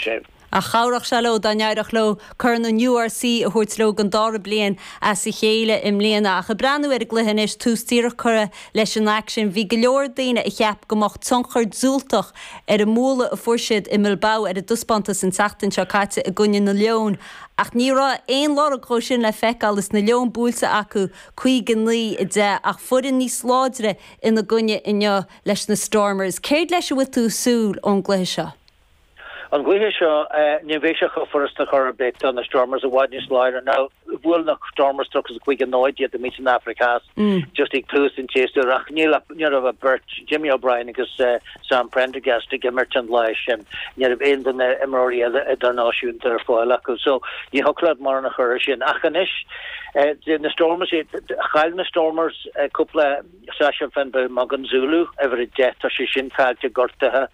Sea. Ach chabhródh sé leo dá n-éireodh leo Corn an URC a thabhairt leo don dara bliain as a chéile i mbliana. Ach ag breathnú ar an gcluiche anois, tús díreach curtha leis an aicsean, bhí go leor daoine a cheap go mbeadh tionchar diúltach ar an mbualadh a fuair siad i mBilbao ar a dtaispeántas an tseachtain seo caite i gcoinne na Leon. Ach ní raibh aon lorg dhó sin le feiceáil is na Leoin buailte acu 59, 10 ach foireann níos láidre ina gcoinne inniu leis na Stormers. Céard leis a bhfuil tú ag súil ón gcluiche seo? An gcluiche seo, ní bheidh sé chomh furasta chor ar bith do na Stormers i bhfad níos láidre ná bhuail na Stormers 35-0 iad amuigh san Afraic Theas just ag tús an tséasúir ach ní raibh ach beirt, Jimmy O'Brien agus Sam Prendergast ag imirt an lá sin. Ní raibh aon duine imreoirí eile idirnáisiúnta ar fáil acu so ní thiocfadh leat mórán a chur air sin. Ach anois, na Stormers, chaill na Stormers cúpla Sacha Feinberg-Mngomezulu, uimhir 10, tá sé sin caillte, gortaithe.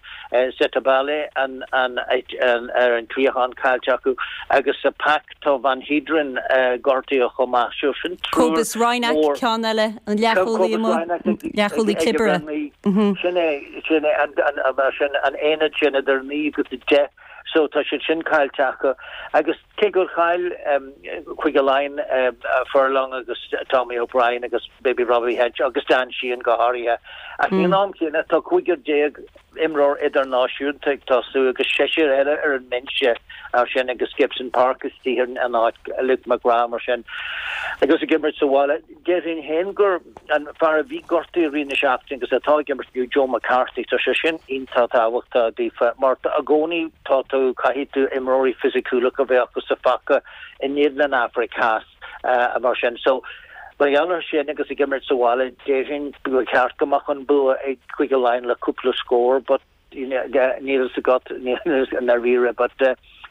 Sethibale an ar an cliathán caillte acu agus sa pack tá Van Heerden gortaithe chomh maith. So sin triúr Cobus Reinach, mór. ceann eile, an leathchúlaí Cobus amuigh, Reinach ag leathchúlaí ag clibirte. uimhir 9. Sin é, sin é an an sin an aonad sin idir 9 agus 10. So tá siad sin caillte acu agus Cé gur chaill Cúige Laighean Furlong agus Tommy O'Brien agus maybe Robbie Henshaw agus Dan Sheehan go háirithe, ach ag an am céanna tá cúigear déag imreoir idirnáisiúnta ag tosú agus seisear eile ar an mbinse mar sin agus Gibson Park istigh in áit Luke McGrath mar sin agus ag imirt sa bhaile. Déarfainn féin gur an fear a bhí gortaithe i rith na seachtaine agus atá ag imirt inniu, Joe McCarthy, tá sé sin iontach tábhachtach daofa mar i gcónaí tá tú, caithfidh tú imreoirí fisiciúla a bheith acu sa phaca in éadan an Afraic Theas mar sin. So, mar gheall ar sin agus ag imirt sa bhaile, déarfainn gur cheart go mbeadh an bua ag Cúige Laighean le cúpla scór but níl a fhios agat i ndáiríre but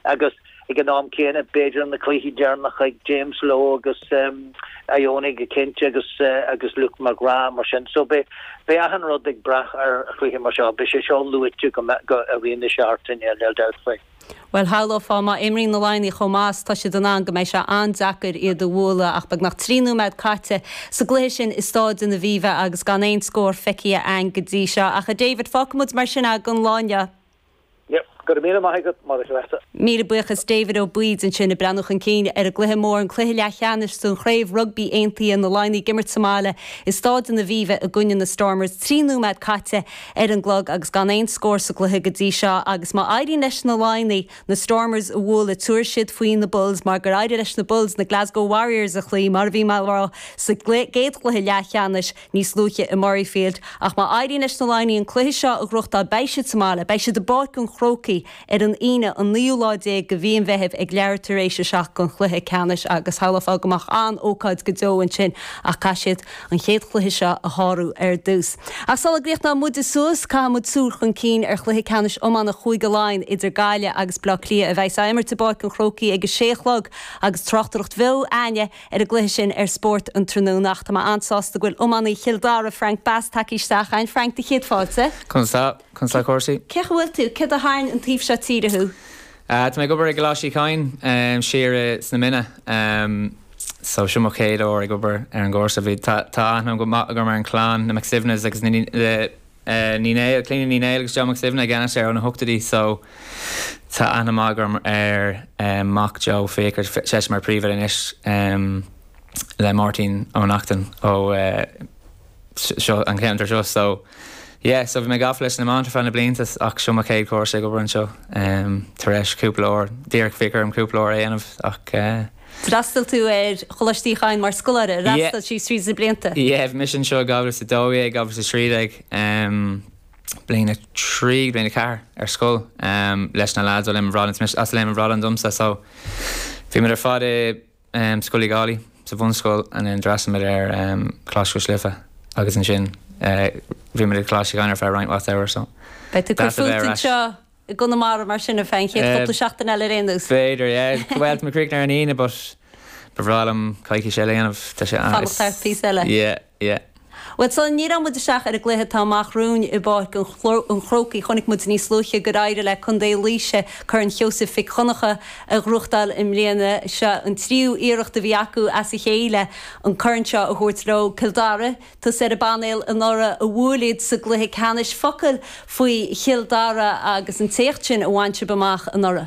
agus ag an am céanna b'fhéidir na cluichí deireanacha ag James Lowe agus Ioane go cinnte agus agus Luke McGrath mar sin so beidh beidh achan rud ag brath ar chluiche mar seo beidh sé seo luaite go go i rith na seachtaine níl dabht faoi. Bhuel, shamhlófá má imríonn na Laighnigh chomh maith is tá siad in ann go mbeidh sé an-deacair iad a bhualadh ach beagnach 3 nóiméad caite sa gcluiche sin i Stáid an Aviva agus gan aon scór feicthe a'ainn go dtí seo. Ach a David, fágfaidh muid mar sin é don lá inniu. Yep, go raibh míle maith agat, Máire Treasa. Míle buíochas David Ó Baoid ansin ag breathnú chun cinn ar an gcluiche mór, an cluiche leathcheannais don Chraobh Rugbaí Aontaithe, na Laighnigh ag imirt sa mbaile i Stáid an Aviva i gcoinne na Stormers. 3 nóiméad caite ar an gclog agus gan aon scór sa gcluiche go dtí seo agus má éiríonn leis na Laighnigh na Stormers a bhualadh tabharfaidh siad faoi na Bulls mar gur éirigh leis na Bulls na Glasgow Warriors a chloí mar a bhí mé a rá sa gcéad chluiche leathcheannais níos luaithe i Murrayfield. Ach má éiríonn leis na Laighnigh an cluiche seo a ghnóthachtáil beidh siad sa mbaile, beidh siad i bPáirc an Chrócaigh ar an Aoine an naoú lá déag de mhí an Mheithimh ag leathuair tar éis a 7 don chluiche ceannais agus shamhlófá go mbeadh an-ócáid go deo ansin ach caithfidh siad an chéad chluiche seo a shárú ar dtús. Ach sula gcríochnóidh muide suas, caithfidh muid súil chun cinn ar chluiche ceannais iomána Chúige Laighean idir Gaillimh agus Bleá Cliath a bheas á imirt i bPáirc an Chrócaigh ag a sé a chlog agus tráchtaireacht bheo a'ainne ar an gcluiche sin ar Spórt an tráthnóna. Ach tá mé an-sásta go bhfuil iománaí Chill Dara, Frank Bass, tagtha isteach a'ainn. Frank, do chéad fáilte. Conas tá? Conas tá cúrsaí? Cén chaoi a bhfuil tú? Céard a tharraing an taobh seo tíre thú? Tá mé ag obair i gColáiste Uí Chadhain siar sna Mine. So seo mo chéad uair ag obair ar an gcúrsa. Bhí, tá, tá aithne go maith agam ar an chlann, na McSuibhnes agus na Ní Néill, Clíona Ní Néill agus Joe Mac Suibhne i gceannas air ó na hochtóidí so tá aithne maith agam ar mac Joe, Fiachra, seisean mar príomhoide anois le Máirtín Ó Neachtain ó seo an ceantar seo so yeah so bhí mé gafa leis an iomáint ar feadh na blianta ach seo mo chéad chúrsa ag obair anseo tar éis cúpla uair díreach bhí orm cúpla uair a dhéanamh ach eh. D'fhreastail tú ar Choláiste Uí Chadhain mar scoláire, ar fhreastail síos tríd na blianta? Yeah bhí mise anseo i 2012, 2013 bliain 3 bliain 4 ar scoil leis na lads ó Léim an Bhradáin, as Léim an Bhradáin domsa so bhí muid ar fad i Scoil Uí Dhálaigh sa bhunscoil and then d'fhreastail muid ar Choláiste Cois Life agus ansin bhí muid ag Coláiste Uí Chadhain ar feadh roinnt mhaith samhradh so Beidh tú ag cur deas a bheith fút ar ais. anseo i gConamara mar sin ar feadh an chéad chúpla seachtain eile ar aon nós. B'fhéidir, yeah. Bhuel, tá mé ag críochnú ar an Aoine but ba bhreá liom coicís eile a dhéanamh. Tá sé Fanacht thart píosa eile. Yeah, yeah. Bhuel, sula ndíreoidh muid isteach ar an gcluiche atá amach romhainn i bPáirc an Chrócaigh, chonaic muid níos luaithe gur éirigh le Contae Laoise Corn Sheosaimh Mhic Dhonncha a ghnóthachtáil i mbliana. Seo an tríú iarracht a bhí acu as a chéile an corn seo a thabhairt leo. Cill Dara, tusa ar an bpainéal anuraidh a bhuail iad sa gcluiche ceannais. Focal faoi Chill Dara agus an t-éacht sin a bhain sibh amach anuraidh.